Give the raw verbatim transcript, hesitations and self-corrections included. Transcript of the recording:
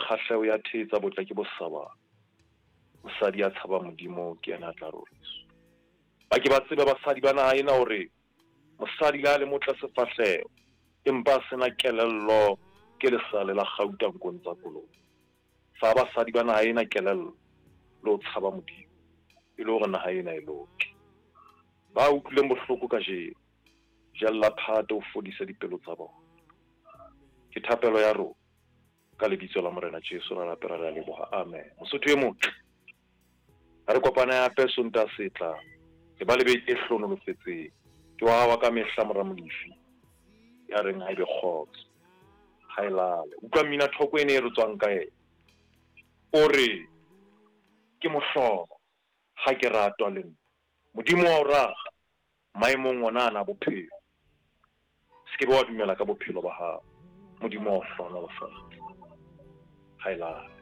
Kgahleho ya thetsa, botle ke bosabane. Mosadi ya tshaba Modimo ke yena a tla roriswa. Ba ke ba tsebe basadi ba naha ena hore mosadi le ha le motle sefahleho empa a sena kelello ke lesale la kgauta nkong tsa kolobe. Fa basadi ba naha ena kelello le ho tshaba Modimo e le hore naha ena e loke. Ba utlwileng bohloko kajeno, jella phate o fodise dipelo tsa bona. Ke thapelo ya rona ka lebitso la Morena Jesu ra rapela re a leboha. Amen. Mosotho e motle, ha re kopane hape Sontaha se tlang. E ba le beke e hlohonolofetseng. Ke wa hao wa ka mehla mora Molefi ya reng ha ebe kgotso, ha e lale. Utlwa mmina thoko ene e re tswang ka yena. O re ke mohlolo ha ke ratwa le nna. Modimo wa o rata maemong ona ana a bophelo. Se ke be wa dumela ka bophelo ba hao. Modimo wa o hlohonolofatsa. Ha e lale.